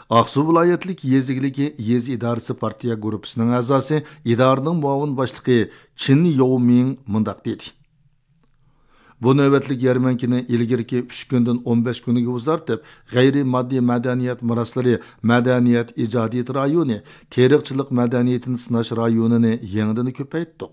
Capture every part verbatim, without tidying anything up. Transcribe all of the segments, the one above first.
ئاقسۇ ۋىلايەتلىك يېزا ئىگىلىكى يېزا ئىدارىسى پارتىيە گۇرۇپپىسىنىڭ ئەزاسى، ئىدارىنىڭ مۇئاۋىن باشلىقى چىن ياۋمىڭ مۇنداق دېدى: بۇ نۆۋەتلىك يەرمەنكىنى ئىلگىرىكى ئۈچ كۈندىن ئون بەش كۈنگە ئۇزارتىپ، غەيرىي ماددىي مەدەنىيەت مىراسلىرى مەدەنىيەت ئىجادىيىتى رايونى، تېرىقچىلىق مەدەنىيىتىنى سىناش رايونىنى يېڭىدىن كۆپەيتتۇق.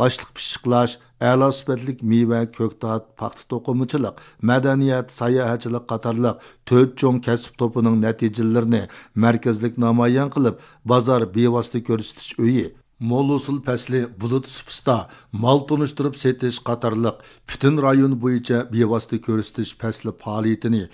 ئاشلىق پىششىقلاش، ئەلا سۈپەتلىك مېۋە، كۆكتات، پاختا توقۇمىچىلىق، مەدەنىيەت، ساياھەتچىلىك قاتارلىق تۆت چوڭ كەسىپ توپىنىڭ نەتىجىلىرىنى مەركەزلىك نامايان قىلىپ، بازار بىۋاسىتە كۆرسىتىش ئۆيى، مول ھوسۇل پەسلى بۇلۇت سۇپىسىدا مال تونۇشتۇرۇپ سېتىش قاتارلىق پۈتۈن رايون بويىچە بىۋاسىتە كۆرسىتىش پەسلى پائالىيىتىنى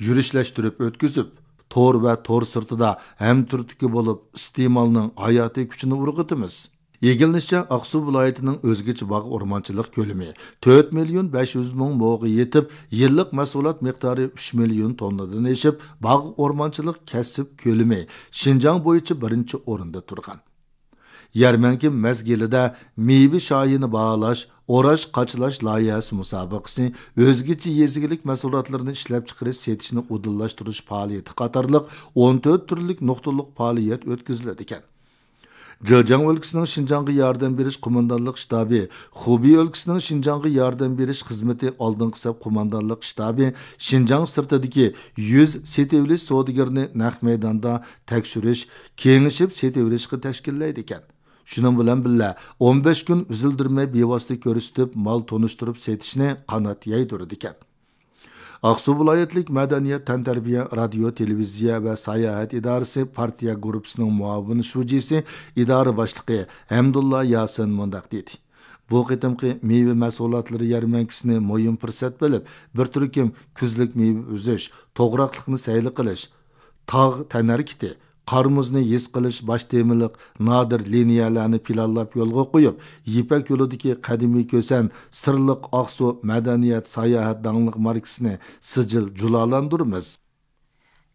يۈرۈشلەشتۈرۈپ ئۆتكۈزۈپ، تور ۋە تور سىرتىدا ھەمتۈرتكە بولۇپ، ئىستېمالنىڭ ھاياتىي كۈچىنى ئۇرغۇتىمىز. ئىگىلىنىشىچە، ئاقسۇ ۋىلايىتىنىڭ ئۆزگىچە باغ ئورمانچىلىق كۆلىمى تۆت مىليون بەش يۈز مىڭ موغا يېتىپ، يىللىق مەھسۇلات مىقدارى ئۈچ مىليون توننىدىن ئېشىپ، باغ ئورمانچىلىق كەسىپ كۆلىمى شىنجاڭ بويىچە بىرىنچى ئورۇندا تۇرغان. يەرمەنكە مەزگىلىدە مېۋە شايىنى باھالاش، ئوراش، قاچىلاش لايىھەسى مۇسابىقىسى، ئۆزگىچە يېزا ئىگىلىك مەھسۇلاتلىرىنى ئىشلەپچىقىرىش، سېتىشنى ئۇدۇللاشتۇرۇش پائالىيىتى قاتارلىق ئون تۆت تۈرلۈك نۇقتىلىق پائالىيەت ئۆتكۈزۈلىدىكەن. جېجياڭ ئۆلكىسىنىڭ شىنجاڭغا ياردەم بېرىش قوماندانلىق شتابى، خۇبېي ئۆلكىسىنىڭ شىنجاڭغا ياردەم بېرىش خىزمىتى ئالدىنقى سەپ قوماندانلىق شتابى شىنجاڭ سىرتىدىكى يۈز سېتىۋېلىش سودىگىرىنى نەق مەيداندا تەكشۈرۈش، كېڭىشىپ سېتىۋېلىشقا تەشكىللەيدىكەن. شۇنىڭ بىلەن بىللە، ئون بەش كۈن ئۈزۈلدۈرمەي بىۋاسىتە كۆرسىتىپ، مال تونۇشتۇرۇپ سېتىشنى قانات يايدۇرىدىكەن. ئاقسۇ ۋىلايەتلىك مەدەنىيەت، تەنتەربىيە، رادىيو، تېلېۋىزىيە ۋە ساياھەت ئىدارىسى پارتىيە گۇرۇپپىسىنىڭ مۇئاۋىن شۇجىسى، ئىدارە باشلىقى ھەمدۇللا ياسىن مۇنداق دېدى: بۇ قېتىمقى مېۋە مەھسۇلاتلىرى يەرمەنكىسىنى مۇھىم پۇرسەت بىلىپ، بىر تۈركۈم كۈزلۈك مېۋە ئۈزۈش، توغراقلىقنى سەيلە قىلىش، تاغ تەنھەرىكىتى، قار-مۇزنى ھېس قىلىش باش تېمىلىق نادىر لىنىيەلەرنى پىلانلاپ يولغا قويۇپ، يىپەك يولىدىكى قەدىمىي كۈسەن سىرلىق ئاقسۇ مەدەنىيەت ساياھەت داڭلىق ماركىسىنى سىجىل جۇلالاندۇرىمىز.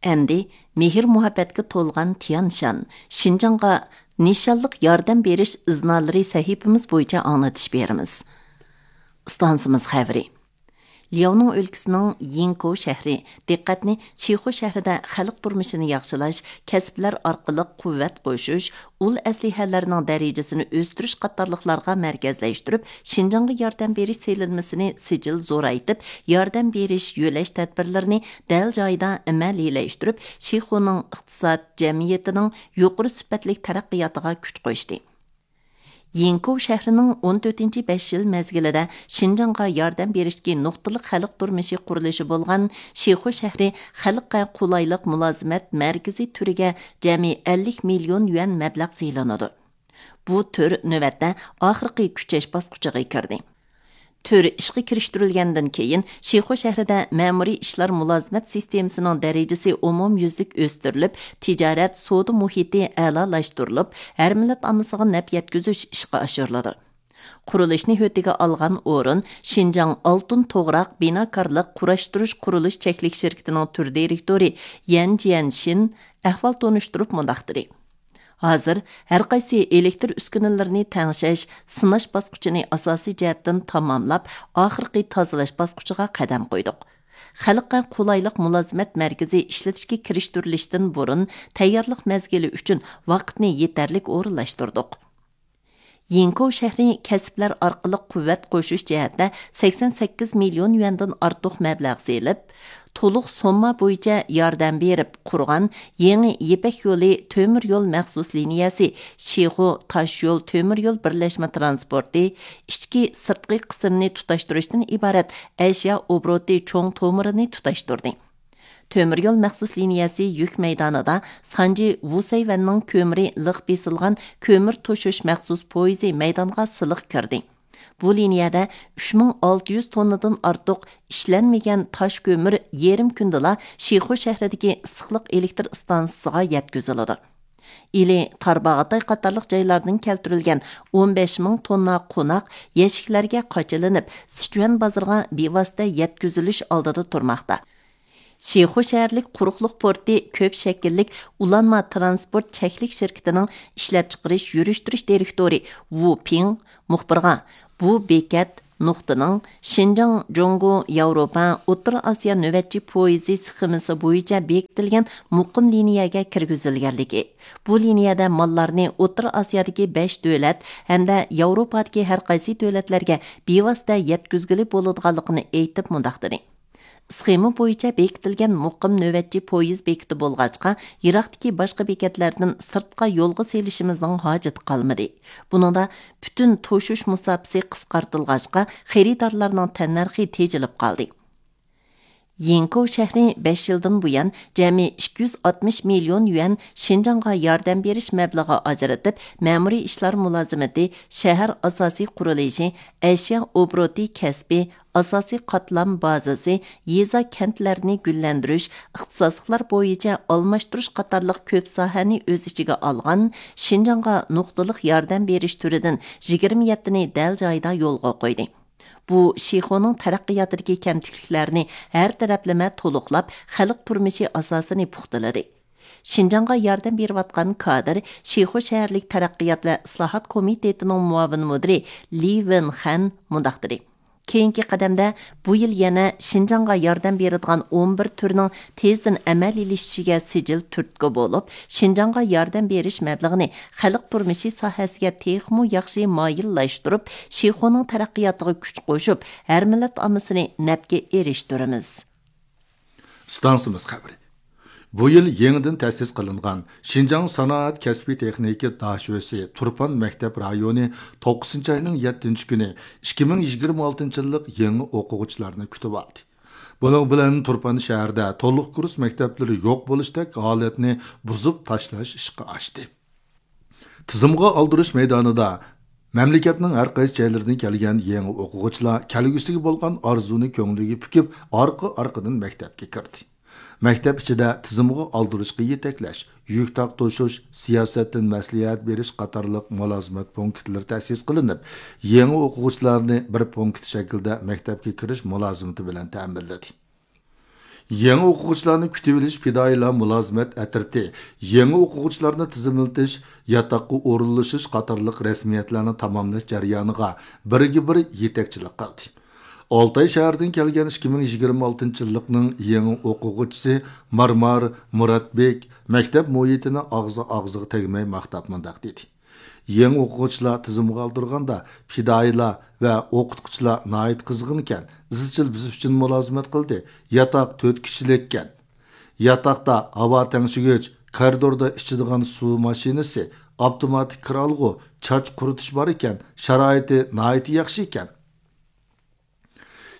ئەمدى مېھىر-مۇھەببەتكە تولغان تيانشان، شىنجاڭغا نىشانلىق ياردەم بېرىش ئىزنالىرى سەھىپىمىز بويىچە ئاڭلىتىش بېرىمىز. ئىستانسىمىز خەۋىرى. لياۋنىڭ ئۆلكىسىنىڭ يىڭكوۋ شەھىرى دىققەتنى شىخۇ شەھىرىدە خەلق تۇرمۇشىنى ياخشىلاش، كەسىپلەر ئارقىلىق قۇۋۋەت قوشۇش، ئۇل ئەسلىھەلەرنىڭ دەرىجىسىنى ئۆستۈرۈش قاتارلىقلارغا مەركەزلەشتۈرۈپ، شىنجاڭغا ياردەم بېرىش سېلىنمىسىنى سىجىل زورايتىپ، ياردەم بېرىش، يۆلەش تەدبىرلىرىنى دەل جايىدا ئەمەلىيلەشتۈرۈپ، شىخۇنىڭ ئىقتىساد، جەمئىيىتىنىڭ يۇقىرى سۈپەتلىك تەرەققىياتىغا كۈچ قوشتى. يىڭكوۋ شەھىرىنىڭ ئون تۆتىنچى بەش يىل مەزگىلىدە شىنجاڭغا ياردەم بېرىشتىكى نۇقتىلىق خەلق تۇرمۇشى قۇرۇلۇشى بولغان شىخۇ شەھىرى خەلققە قولايلىق مۇلازىمەت مەركىزى تۈرىگە جەمئىي ئەللىك مىليون يۈەن مەبلەغ سېلىنىدۇ. بۇ تۈر نۆۋەتتە ئاخىرقى كۈچەش باسقۇچىغا كىردى. تۈر ئىشقا كىرىشتۈرۈلگەندىن كېيىن، شىخۇ شەھىرىدە مەمۇرىي ئىشلار مۇلازىمەت سىستېمىسىنىڭ دەرىجىسى ئومۇميۈزلۈك ئۆستۈرۈلۈپ، تىجارەت، سودا مۇھىتى ئەلالاشتۇرۇلۇپ، ھەر مىللەت ئاممىسىغا نەپ يەتكۈزۈش ئىشقا ئاشۇرۇلىدۇ. قۇرۇلۇشنى ھۆددىگە ئالغان ئورۇن شىنجاڭ ئالتۇن توغراق بىناكارلىق قۇراشتۇرۇش قۇرۇلۇش چەكلىك شىركىتىنىڭ تۈر دىرېكتورى يەن جيەنشىن ئەھۋال تونۇشتۇرۇپ مۇنداق دېدى: ھازىر ھەر قايسى ئېلېكتر ئۈسكۈنىلىرىنى تەڭشەش، سىناش باسقۇچىنى ئاساسىي جەھەتتىن تاماملاپ، ئاخىرقى تازىلاش باسقۇچىغا قەدەم قويدۇق. خەلققە قولايلىق مۇلازىمەت مەركىزى ئىشلىتىشكە كىرىشتۈرۈلۈشتىن بۇرۇن تەييارلىق مەزگىلى ئۈچۈن ۋاقىتنى يېتەرلىك ئورۇنلاشتۇردۇق. يىڭكوۋ شەھىرى كەسىپلەر ئارقىلىق قۇۋۋەت قوشۇش جەھەتتە سەكسەن سەككىز مىليون يۈەندىن ئارتۇق مەبلەغ سېلىپ، تولۇق سومما بويىچە ياردەم بېرىپ قۇرغان يېڭى يىپەك يولى تۆمۈر يول مەخسۇس لىنىيەسى شىخۇ تاش يول تۆمۈر يول بىرلەشمە ترانسپورتى ئىچكى، سىرتقى قىسىمنى تۇتاشتۇرۇشتىن ئىبارەت ئەشيا ئوبوروتى چوڭ تومۇرىنى تۇتاشتۇردى. تۆمۈر يول مەخسۇس لىنىيەسى يۈك مەيدانىدا سانجى ۋۇسەيۋەننىڭ كۆمۈرى لىق بېسىلغان كۆمۈر توشۇش مەخسۇس پويىزى مەيدانغا سىلىق كىردى. بۇ لىنىيەدە ئۈچ مىڭ ئالتە يۈز توننىدىن ئارتۇق ئىشلەنمىگەن تاش كۆمۈر يېرىم كۈندىلا شىخۇ شەھىرىدىكى ئىسسىقلىق ئېلېكتر ئىستانسىسىغا يەتكۈزۈلىدۇ. ئىلى، تارباغاتاي قاتارلىق جايلاردىن كەلتۈرۈلگەن ئون بەش مىڭ توننا قوناق يەشىكلەرگە قاچىلىنىپ، سىچۈەن بازىرىغا بىۋاسىتە يەتكۈزۈلۈش ئالدىدا تۇرماقتا. شىخۇ شەھەرلىك قۇرۇقلۇق پورتى كۆپ شەكىللىك ئۇلانما ترانسپورت چەكلىك شىركىتىنىڭ ئىشلەپچىقىرىش يۈرۈشتۈرۈش دىرېكتورى ۋۇ پىڭ مۇخبىرغا، بۇ بېكەت نۇقتىنىڭ شىنجاڭ جۇڭگو ياۋروپا ئوتتۇرا ئاسىيا نۆۋەتچى پويىزى سخېمىسى بويىچە بېكىتىلگەن مۇقىم لىنىيەگە كىرگۈزۈلگەنلىكى، بۇ لىنىيەدە ماللارنى ئوتتۇرا ئاسىيادىكى بەش دۆلەت ھەمدە ياۋروپادىكى ھەر قايسى دۆلەتلەرگە بىۋاسىتە يەتكۈزگىلى بولىدىغانلىقىنى ئېيتىپ مۇنداق دېدى: ئىسخېما بويىچە بېكىتىلگەن مۇقىم نۆۋەتچى پويىز بېكىتى بولغاچقا، يىراقتىكى باشقا بېكەتلەردىن سىرتقا يولغا سېلىشىمىزنىڭ ھاجىتى قالمىدى. بۇنىڭدا پۈتۈن توشۇش مۇساپىسى قىسقارتىلغاچقا، خېرىدارلارنىڭ تەننەرخى تېجىلىپ قالدى. يىڭكۇ شەھىرى بەش يىلدىن بۇيان جەمئىي ئىككى يۈز ئاتمىش مىليون يۈەن شىنجاڭغا ياردەم بېرىش مەبلىغى ئاجرىتىپ، مەمۇرىي ئىشلار مۇلازىمىتى، شەھەر ئاساسىي قۇرۇلۇشى، ئەشيا ئوبوروتى كەسپى، ئاساسىي قاتلام بازىسى، يېزا، كەنتلەرنى گۈللەندۈرۈش، ئىختىساسلىقلار بويىچە ئالماشتۇرۇش قاتارلىق كۆپ ساھەنى ئۆز ئىچىگە ئالغان شىنجاڭغا نۇقتىلىق ياردەم بېرىش تۈرىدىن يىگىرمە يەتتىنى دەل جايىدا يولغا قويدى. بۇ شىخۇنىڭ تەرەققىياتىدىكى كەمتۈكلۈكلەرنى ھەر تەرەپلىمە تولۇقلاپ، خەلق تۇرمۇشى ئاساسىنى پۇختىلىدى. شىنجاڭغا ياردەم بېرىۋاتقان كادىر، شىخۇ شەھەرلىك تەرەققىيات ۋە ئىسلاھات كومىتېتىنىڭ مۇئاۋىن مۇدىرى لى ۋېنخەن مۇنداق دېدى: كېيىنكى قەدەمدە بۇ يىل يەنە شىنجاڭغا ياردەم بېرىدىغان ئون بىر تۈرنىڭ تېزدىن ئەمەلىيلىشىشىگە سىجىل تۈرتكە بولۇپ، شىنجاڭغا ياردەم بېرىش مەبلىغىنى خەلق تۇرمۇشى ساھەسىگە تېخىمۇ ياخشى مايىللاشتۇرۇپ، شىخۇنىڭ تەرەققىياتىغا كۈچ قوشۇپ، ھەر مىللەت ئاممىسىنى نەپكە ئېرىشتۈرىمىز. ئىستانسىمىز خەۋىرى. بۇ يىل يېڭىدىن تەسىس قىلىنغان شىنجاڭ سانائەت كەسپىي تېخنىكا داشۆسى تۇرپان مەكتەپ رايونى توققۇزىنچى ئاينىڭ يەتتىنچى كۈنى ئىككى مىڭ يىگىرمە ئالتىنچى يىللىق يېڭى ئوقۇغۇچىلارنى كۈتۈۋالدى. بۇنىڭ بىلەن تۇرپان شەھىرىدە تولۇق كۇرس مەكتەپلىرى يوق بولۇشتەك ھالەتنى بۇزۇپ تاشلاش ئىشقا ئاشتى. تىزىمغا ئالدۇرۇش مەيدانىدا مەملىكەتنىڭ ھەر قايسى جايلىرىدىن كەلگەن يېڭى ئوقۇغۇچىلار كەلگۈسىگە بولغان ئارزۇنى كۆڭلىگە پۈكۈپ، ئارقا-ئارقىدىن مەكتەپكە كىردى. مەكتەپ ئىچىدە تىزىمغا ئالدۇرۇشقا يېتەكلەش، يۈك تارتىشىش، سىياسەتتىن مەسلىھەت بېرىش قاتارلىق مۇلازىمەت پونكىتلىرى تەسىس قىلىنىپ، يېڭى ئوقۇغۇچىلارنى بىر پونكىت شەكلىدە مەكتەپكە كىرىش مۇلازىمىتى بىلەن تەمىنلىدى. يېڭى ئوقۇغۇچىلارنى كۈتۈۋېلىش پىدائىيلار مۇلازىمەت ئەترىتى يېڭى ئوقۇغۇچىلارنى تىزىملىتىش، ياتاققا ئورۇنلىشىش قاتارلىق رەسمىيەتلەرنى تاماملاش جەريانىغا بىرگە بىر يېتەكچىلىك قىلدى. ئالتاي شەھىرىدىن كەلگەن ئىككى مىڭ يىگىرمە ئالتىنچى يىللىقنىڭ يېڭى ئوقۇغۇچىسى مارمار مۇراتبېك مەكتەپ مۇھىتىنى ئاغزى ئاغزىغا تەگمەي ماختاپ مۇنداق دېدى: يېڭى ئوقۇغۇچىلار تىزىمغا ئالدۇرغاندا، پىدائىيلار ۋە ئوقۇتقۇچىلار ناھايىتى قىزغىنكەن، ئىزچىل بىز ئۈچۈن مۇلازىمەت قىلدى. ياتاق تۆت كىشىلىككەن. ياتاقتا ھاۋا تەڭشىگۈچ، كارىدوردا ئىچىدىغان سۇ ماشىنىسى، ئاپتوماتىك كىر ئالغۇ، چاچ قۇرۇتۇش بار ئىكەن، شارائىتى ناھايىتى ياخشى ئىكەن.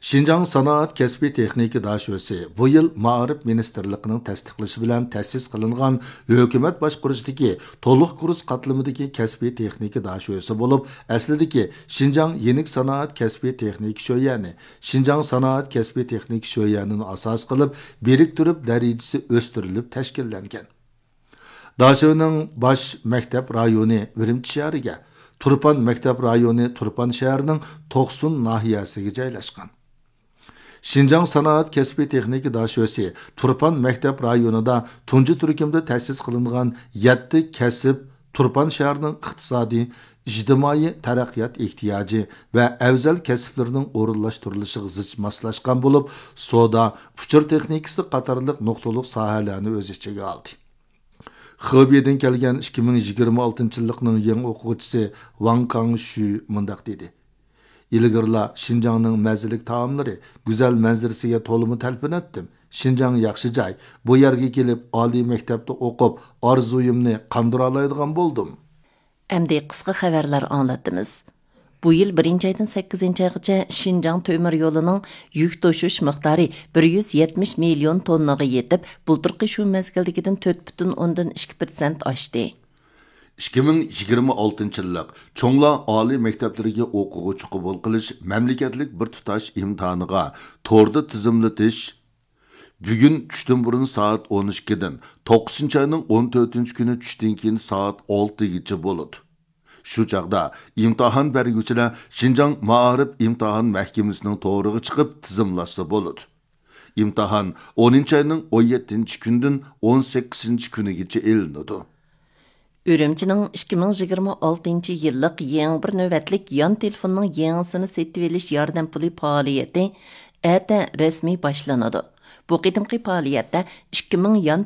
شىنجاڭ سانائەت كەسپىي تېخنىكا داشۆسى بۇ يىل مائارىپ مىنىستىرلىقىنىڭ تەستىقلىشى بىلەن تەسىس قىلىنغان ھۆكۈمەت باشقۇرۇشىدىكى تولۇق كۇرس قاتلىمىدىكى كەسپىي تېخنىكا داشۆسى بولۇپ، ئەسلىدىكى شىنجاڭ يېنىك سانائەت كەسپىي تېخنىكا شۆيەنى، شىنجاڭ سانائەت كەسپىي تېخنىكا شۆيەنىنى ئاساس قىلىپ، بىرىكتۈرۈپ دەرىجىسى ئۆستۈرۈلۈپ تەشكىللەنگەن. داشۆنىڭ باش مەكتەپ رايونى ئۈرۈمچى شەھىرىگە، تۇرپان مەكتەپ رايونى تۇرپان شەھىرىنىڭ توقسۇن ناھىيەسىگە جايلاشقان. شىنجاڭ سانائەت كەسپىي تېخنىكا داشۆسى تۇرپان مەكتەپ رايونىدا تۇنجى تۈركۈمدە تەسىس قىلىنغان يەتتە كەسىپ تۇرپان شەھىرىنىڭ ئىقتىسادىي، ئىجتىمائىي تەرەققىيات ئېھتىياجى ۋە ئەۋزەل كەسىپلىرىنىڭ ئورۇنلاشتۇرۇلۇشىغا زىچ ماسلاشقان بولۇپ، سودا، ئۇچۇر تېخنىكىسى قاتارلىق نۇقتىلىق ساھەلەرنى ئۆز ئىچىگە ئالدى. خېبېيدىن كەلگەن ئىككى مىڭ يىگىرمە ئالتىنچى يىللىقنىڭ يېڭى ئوقۇغۇچىسى ۋاڭ كاڭشۈ مۇنداق دېدى: ئىلگىرىلا شىنجاڭنىڭ مەززىلىك تائاملىرى، گۈزەل مەنزىرىسىگە تولىمۇ تەلپۈنەتتىم. شىنجاڭ ياخشى جاي. بۇ يەرگە كېلىپ، ئالىي مەكتەپتە ئوقۇپ، ئارزۇيۇمنى قاندۇرالايدىغان بولدۇم. ئەمدى قىسقا خەۋەرلەر ئاڭلاتىمىز. بۇ يىل بىرىنچى ئايدىن سەككىزىنچى ئايغىچە شىنجاڭ تۆمۈر يولىنىڭ يۈك توشۇش مىقدارى بىر يۈز يەتمىش مىليون توننىغا يېتىپ، بۇلتۇرقى شۇ مەزگىلدىكىدىن تۆت پۈتۈن ئوندىن ئىككى پىرسەنت ئاشتى. ئىككى مىڭ يىگىرمە ئالتىنچى يىللىق چوڭلار ئالىي مەكتەپلىرىگە ئوقۇغۇچى قوبۇل قىلىش مەملىكەتلىك بىر تۇتاش ئىمتىھانىغا توردا تىزىملىتىش بۈگۈن چۈشتىن بۇرۇن سائەت ئون ئىككىدىن، توققۇزىنچى ئاينىڭ ئون تۆتىنچى كۈنى چۈشتىن كېيىن سائەت ئالتىگىچە بولىدۇ. شۇ چاغدا ئىمتىھان بەرگۈچىلەر شىنجاڭ مائارىپ ئىمتىھان مەھكىمىسىنىڭ تورىغا چىقىپ تىزىملاشسا بولىدۇ. ئىمتىھان ئونىنچى ئاينىڭ ئون يەتتىنچى كۈنىدىن ئون سەككىزىنچى كۈنىگىچە ئېلىنىدۇ. ئۈرۈمچىنىڭ ئىككى مىڭ يىگىرمە ئالتىنچى يىللىق يېڭى بىر نۆۋەتلىك يان تېلېفوننىڭ يېڭىسىنى سېتىۋېلىش ياردەم پۇلى پائالىيىتى ئەتە رەسمىي باشلىنىدۇ. بۇ قېتىمقى پائالىيەتتە ئىككى مىڭ يان